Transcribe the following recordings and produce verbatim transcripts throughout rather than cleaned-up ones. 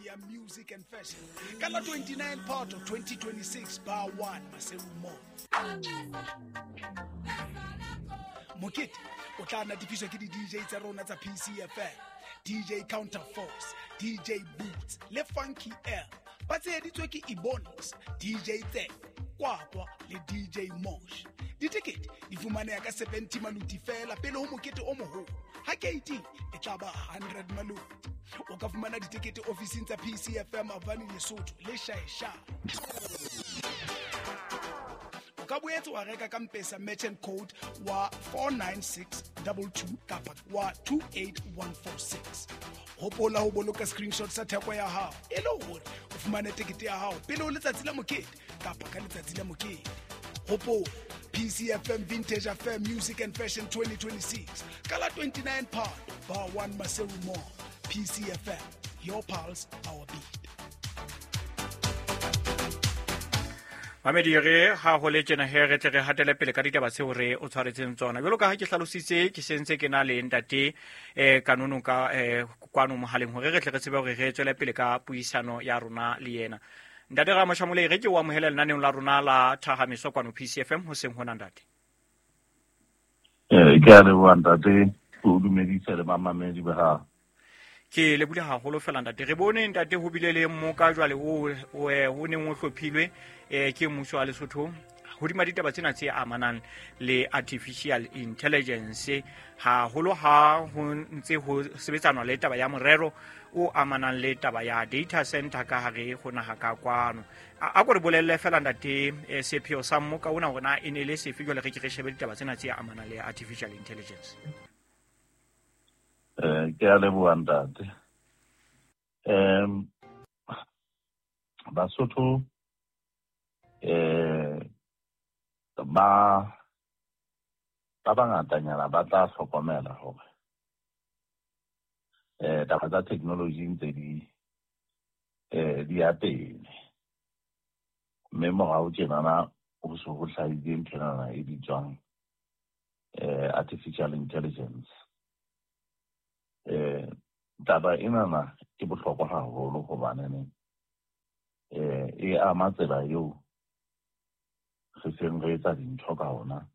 ya Music and Fashion ka la twenty-nine Phato twenty twenty-six bar one Maseru Mall. Mokete o tla natefiswa ke di-D J tsa rona tsa P C F M, D J Counterforce, D J Boots le Funky L. Ba tsheheditswe ke Ebonics, D J Tse, Kwakwa le D J Mosh. Ditekete di fumaneha ka seventy maluti fela pele ho mokete o moholo. Ha keiti e tla ba hundred maluti. O ka fumana ditekete ofising tsa P C F M Avani Lesotho le Shaesha. O ka boetse wa reka ka M-Pesa merchant code wa four nine six two two kapa wa two eight one four six. Hopola ho boloka screenshot sa theko ya hao e le hore o fumane tekete ya hao pele ho letsatsi la mokete kapa ka letsatsi la mokete. Hopola P C F M Vintage Affair Music and Fashion twenty twenty-six. Ka la twenty-nine Phato bar one Maseru Mall. P C F M, your pulse, our beat. Mamedi re ha ho le tjena he re tle re hatele pele ka ditaba tseo re o tshwaretseng tsona. Jwalo ka ha ke hlalositse ke sentse ke na le ntate eh Kanono ka eh kwano mohaleng hore re tle re tsebe hore re tswele pele ka puisano ya rona le yena. Ntate Ramoshamole re ke o amohela lenaneong la rona la Thahamiso kwano P C F M hoseng hona ntate. Eh ke a leboha ntate, o dumedisa le mamamedi ba hao. Ke lebule haholo fela ntate. Re bone ntate ho bile le mmoka jwale o o neng o hlophilwe eh ke mmuso wa Lesotho hodima ditaba tsena tse amanang le artificial intelligence haholo ha ho ntse ho sebetsanwa le taba ya morero o amanang le taba ya data center ka hare ho naha ka kwano. A ko re bolelle fela ntate sepheo sa mmoka ona hore na e ne le sefe jwale re ke re shebe ditaba tsena tse amanang le artificial intelligence. Eh ke a leboha ntate. Em Basotho eh ba ba bangatanyana ba tla hlokomela hore eh taba tsa technology ntse di eh di ya pele. Mme morao tjenana ho so ho hlahile nthwenana e bitswang eh artificial intelligence. Eh taba enana ke bohlokwa haholo hobane eh e ama tsela eo re seng re etsa dintho ka ona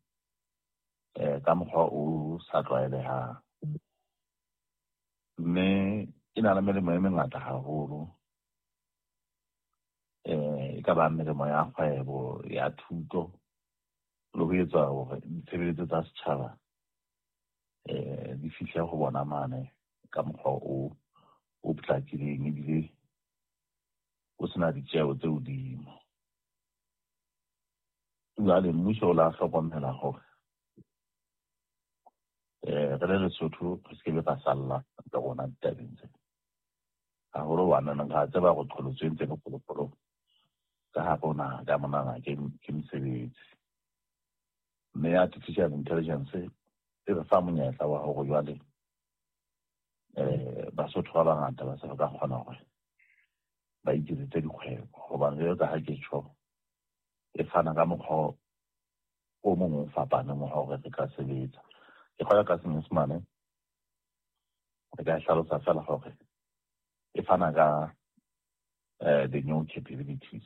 eh ka mokgwa o sa tlwaelehang. Mme e na le melemo e mengata haholo. Eh e ka ba melemo ya kgwebo, ya thuto le ho etsa hore ditshebeletso tsa setjhaba eh di fihle ho bona mane ka mokgwa o o potlakileng ebile o sena ditjeho tse hodimo. Jwale mmuso o la hlokomela hore eh re le Lesotho re se ke be ra salla le rona ditabeng tsena. Haholo hobane re a tseba hore qholotso e ntse e le kgolokgolo ka hare ho naha ka monana ke ke mosebetsi. Mme artificial intelligence e re fa monyetla wa hore jwale eh Basotho ba bangata ba se ba ka kgona hore ba iketsetse dikgwebo hobane jwalo ka ha ke tjho e fana ka mokgwa o mong o fapaneng wa hore re ka sebetsa. Ke kgolwa ka Senyesemane re ka hlalosa fela hore e fana ka eh the new capabilities.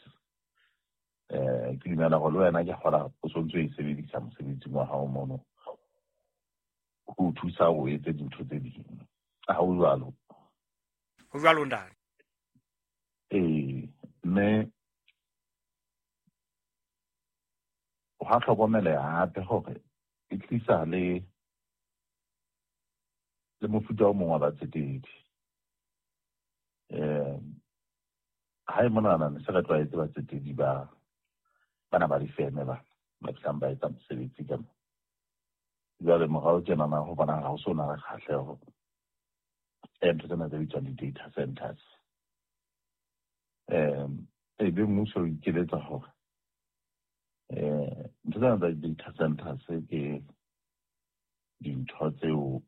Eh ke dumela hore le wena ke kgola o sontso e sebedisa mosebetsing wa hao mono ho thusa o etse dintho tse ding. Ha ho jwalo? Ho jwalo ntate. Eh mme ha hlokomeleha hape hore e tlisa le le mofuta o mong wa batsetedi. Eh ha e monana ne se re tlwaetse batsetedi ba bana ba difeme ba ba fihlang ba etsa mosebetsi ka mo. Jwale morao tjenana ho bona ha ho so na le kgahleho e ntho tsena tse bitswang di-data centers. Um ebe mmuso o ikeletsa hore eh ntho tsena tsa di-data centers ke dintho tseo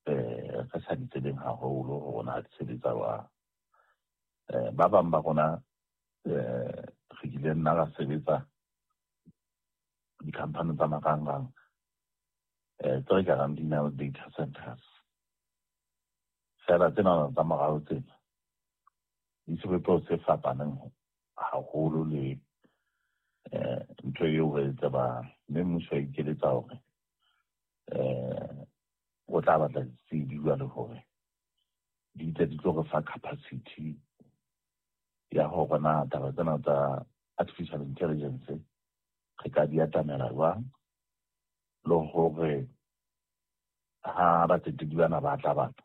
eh re sa di tsebeng haholo hore na di sebetsa jwang. Eh ba bang ba rona eh re kile nna ra sebetsa di-company tsa marangrang eh tse ka rang di na le data centers. Fela tsena tsa morao tsena Di sebopeho se fapaneng haholo le eh ntho eo re e tsebang, mme mmuso wa ikeletsa hore eh o tla batla ditsebi jwale hore di tle di tlo re fa capacity ya hore na taba tsena tsa artificial intelligence re ka di atamela jwang, le hore ha batsetedi bana ba tla batla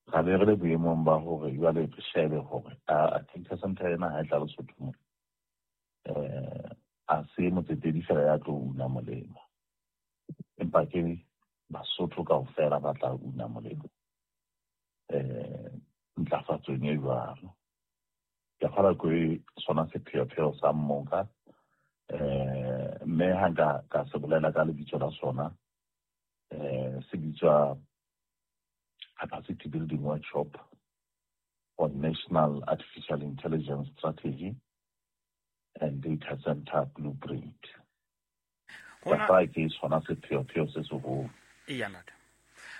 ra be re le boemong ba hore jwale re shebe hore a data center ena ha e tla Lesotho mo eh a se motsetedi fela ya tlo una molemo, empa ke Basotho kaofela ba tla una molemo eh ntlafatsong e jwalo. Ke kgolwa ke sona sepheopheo sa mmoka, eh mme ha nka ka se bolela ka lebitso la sona, eh se bitswa Capacity Building Workshop on National Artificial Intelligence Strategy and Data Center Blueprint. Hona- Ka ke sona sepheopheo se seholo. Eya ntate.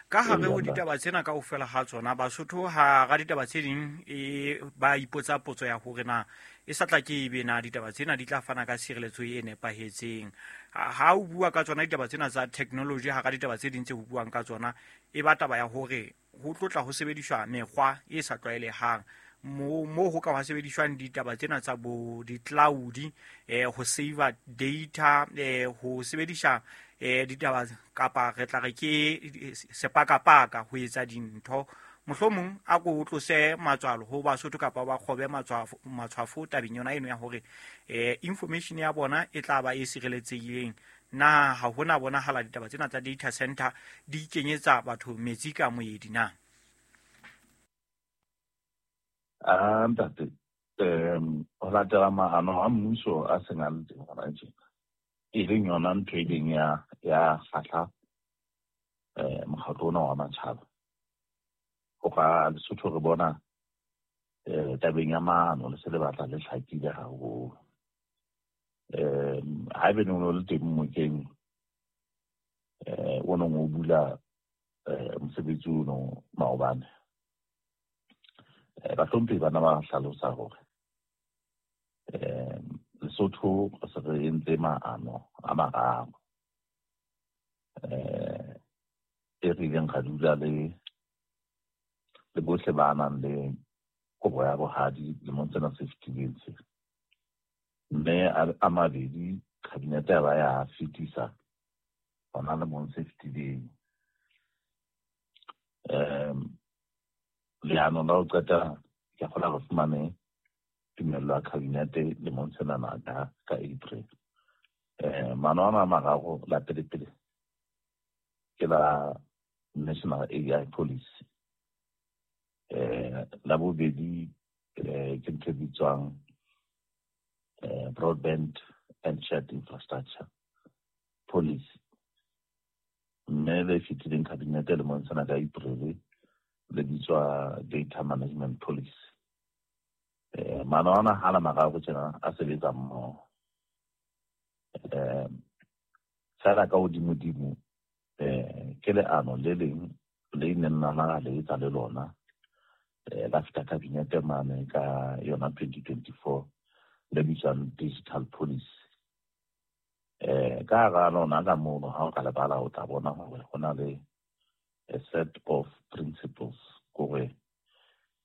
Ka hare ho Eya, ntate. ditaba tsena kaofela ha tsona, Basotho ha ra ditaba tse ding e ba ipotsa potso ya hore na e sa tla ke ebe na ditaba tsena di tla fana ka tshireletso e nepahetseng. Ha ha o bua ka tsona ditaba tsena tsa technology, hara ditaba tse ding tse ho buang ka tsona, e ba taba ya hore ho tlo tla ho sebediswa mekgwa e sa tlwaelehang. Mo mo ho ka hwa sebediswang ditaba tsena tsa bo di-cloud, eh ho save data, eh ho sebedisa eh ditaba kapa re tla re ke sepakapaka ho etsa dintho. Mohlomong a ko tlose matswalo ho Basotho kapa ba kgobe matshwafo matshwafo tabeng yona eno ya hore eh information ya bona e tla ba e sireletsehileng. Na ha hona bonahala ditaba tsena tsa data center di kenyetsa batho metsi ka moedi na? Ah, ntate, um ho latela maano a mmuso a seng a le teng hona tjena, e leng yona ntho e leng ya ya kgahla eh mokgatlo ona wa matjhaba. Ho ka Lesotho re bona eh tabeng ya maano le se le batla le hlakile haholo. Um haebe ne o le teng mokeng eh o nong o bula eh mosebetsi ono maobane, eh bahlomphehi bana ba hlalosa hore eh Lesotho re se re entse maano a mararo eh e re ileng ra dula le le bohle ba nang le kobo ya bohadi lemong sena se fetileng se. Mme a a mabedi kabinete ya ba ya fetisa hona lemong se fetileng. Um leano la ho qetela ke kgolwa re fumane tumello ya kabinete lemong senana ka ka April. Eh maano ana a mararo, la pele pele ke la National A I Policy. Eh la bobedi eh ke ntho e bitswang eh Broadband and Shared Infrastructure Policy. Mme le fetileng kabinete lemong sena ka April le bitswa Data Management Policy. Eh maano ana ha la mararo tjena a sebetsa mmoho. Eh fela ka hodimodimo eh ke leano le leng le neng la naha le etsa le lona eh la feta kabinete mane ka yona twenty twenty-four le bitswang Digital Policy. Eh ka hara lona ka mono ha o ka lebala o tla bona hore ho na le a set of principles kore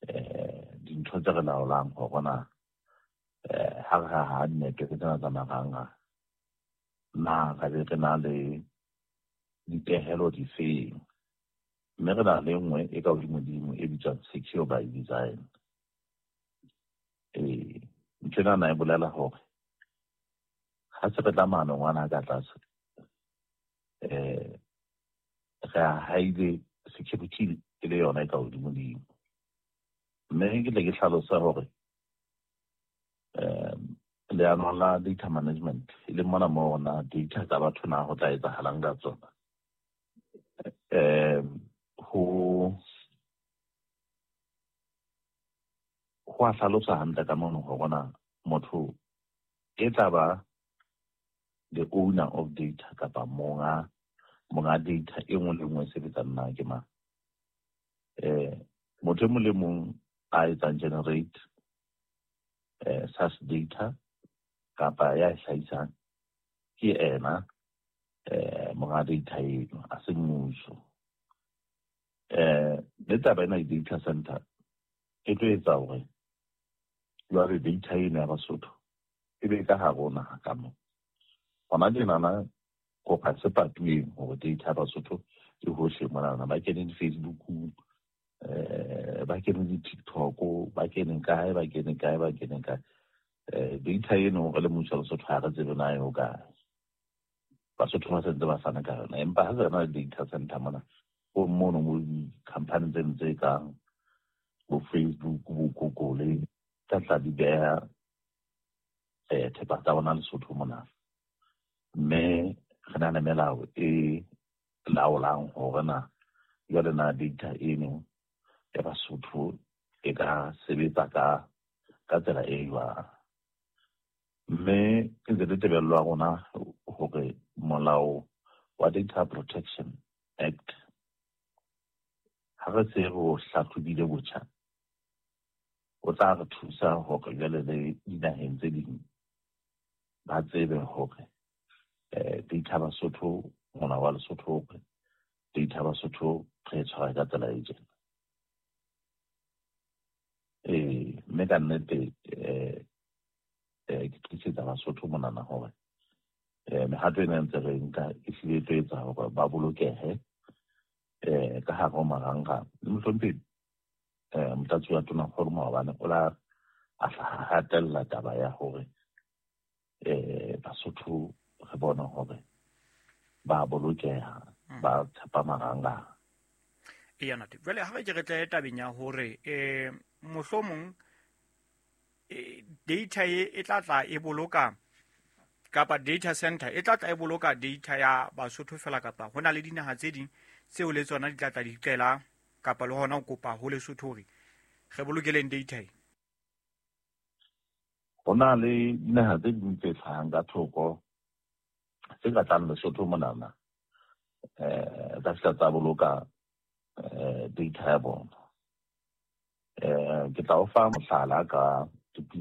eh dintho tse re laolang hore na eh ha re ha network tsena tsa marangrang na ra be re na le dipehelo difeng, mme re na le nngwe e ka hodimodimo e bitswang secure by design. Eh ntho ena na e bolela hore ha se re tla maanong ana ka tlase eh re a haile security e le yona e ka hodimodimo. Mme ke tle ke hlalosa hore um leano la data management e leng mona moo na data tsa batho na ho tla etsahalang ka tsona, um ho ho a hlalosa hantle ka mono hore na motho e tla ba the owner of data kapa monga monga data e nngwe le nngwe e sebetsang na ke mang. Eh motho e mong le mong a etsang generate eh such data kapa ya e hlahisang ke ena eh monga data eno, a se mmuso. Eh le taba ena ya data center e tlo etsa hore jwale data eno ya Basotho e be ka hare ho naha ka mo. Hona tjenana kopa se patuweng hore data ya Basotho e hohle monana, ba kene di-Facebook-ung, eh ba kene di-TikTok, ba kene kae, ba kene kae, ba kene kae. Eh data eno re le mmuso wa Lesotho ha re tsebe na e hokae. Basotho ba sentse ba fana ka yona, empa ha se na le data center mona ho mono mo di-company tseno tse kang bo Facebook, bo Google tsa tla di beha eh thepa tsa bona Lesotho mona. Mme re na le melao e laolang hore na jwale na data eno ya Basotho e ka sebetsa ka ka tsela e jwang. Mme ke ntse le tebello ya rona hore molao wa Data Protection Act ha re se re o hlahlobile botjha, o tla re thusa hore jwale le dinaheng tse ding ba tsebe hore eh data Basotho, molao wa Lesotho hore data Basotho re e tshwara ka tsela e tjena. Eh mme ka nnete eh eh ke tlisetsa Basotho monana hore eh mehato ena ntse re nka e hlile e tlo etsa hore ba bolokehe eh ka hare ho marangrang. Le mohlomphehi eh Motlatsi wa Tonakgolo maobane o la a hatella taba ya hore eh Basotho re bone hore ba bolokeha, ba tshepa marangrang. Eya ntate, jwale ha re ke re tle tabeng ya hore eh mohlomong data e e tla tla e boloka kapa data center e tla tla e boloka data ya Basotho fela, kapa hona le dinaha tse ding tseo le tsona di tla tla di qela kapa le hona ho kopa ho Lesotho hore re bolokeleng data e? Ho na le dinaha tse ding tse hlahang ka thoko tse ka tlang Lesotho monana eh tsa fihla tsa boloka eh data ya bona. Eh ke tla o fa mohlala ka